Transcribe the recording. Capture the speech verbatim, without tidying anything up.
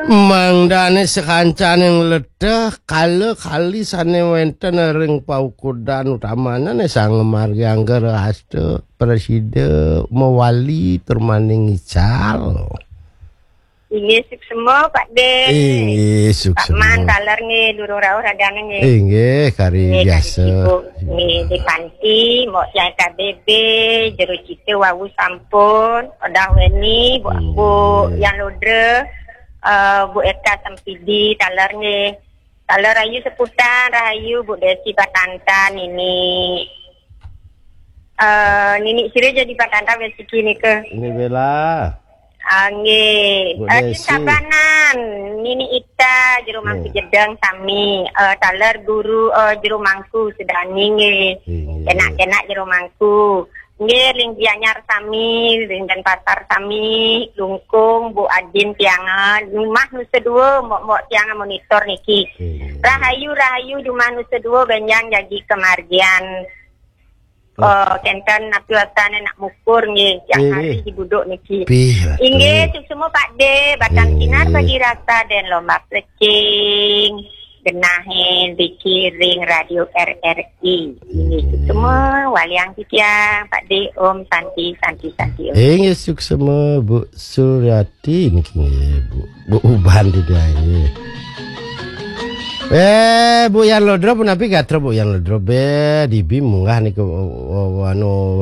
Mangdane sakancaning leteh kala kali sane wenten ring paukudan utamane ne Sang Margi Angga Rahasta prasida mawali tur maning ical. Inggih suksma, Pak De. Inggih Pak Man suksma. Taler nggih, durung rauh radane nggih. Inggih, kari Nggih, kari biasa. Sibuk. Nggih, di panti, Mbok Tiang K B B, jero cita wau sampun, Odah Weni, Bu, Bu Inggih. Yang Ludra, eh, Bu Eka Sempidi, taler nggih. Taler Rahayu Seputan, Rahayu, Bu Desi Patantan, Nini. Eh, Nini sira jadi Patantan wis iki nika. Ini Bella. Ah, nggih. Bu Adin Desi. Sabanan, Nini Ita, jero mangku Nggih. Jedeng sami, eh, taler guru, eh, jero mangku sedani nggih. Inggih. Enak-enak jero mangku. Nggih, ring Gianyar sami, ring Denpasar sami, Lungkung, Bu Adin tiangan, Jumah Nusa Dua, Mbok-mbok tiangan monitor niki. Inggih. Rahayu, rahayu, Jumah Nusa Dua, benjang jagi kemargian. Oh, kenten napi wastane nak mukur nggih, yang Inggih. Hari di buduk niki. Pih, ratu. Inggih, suksma Pak De, batang Inggih. Sinar bagi rasa dan lomba plecing, genahin, dikiring Radio R R I. Inggih, Inggih. Suksma, waliang titiang, Pak De, Om Santi, Santi, Santi, Om. Inggih, suksma, Bu Suryati, niki nggih, Bu. Bu Uban tidak, nggih. Eh, Bu Yan Lodro, punapi gatra Bu Yan Lodro, be, dibi munggah niku, o-, o-, anu,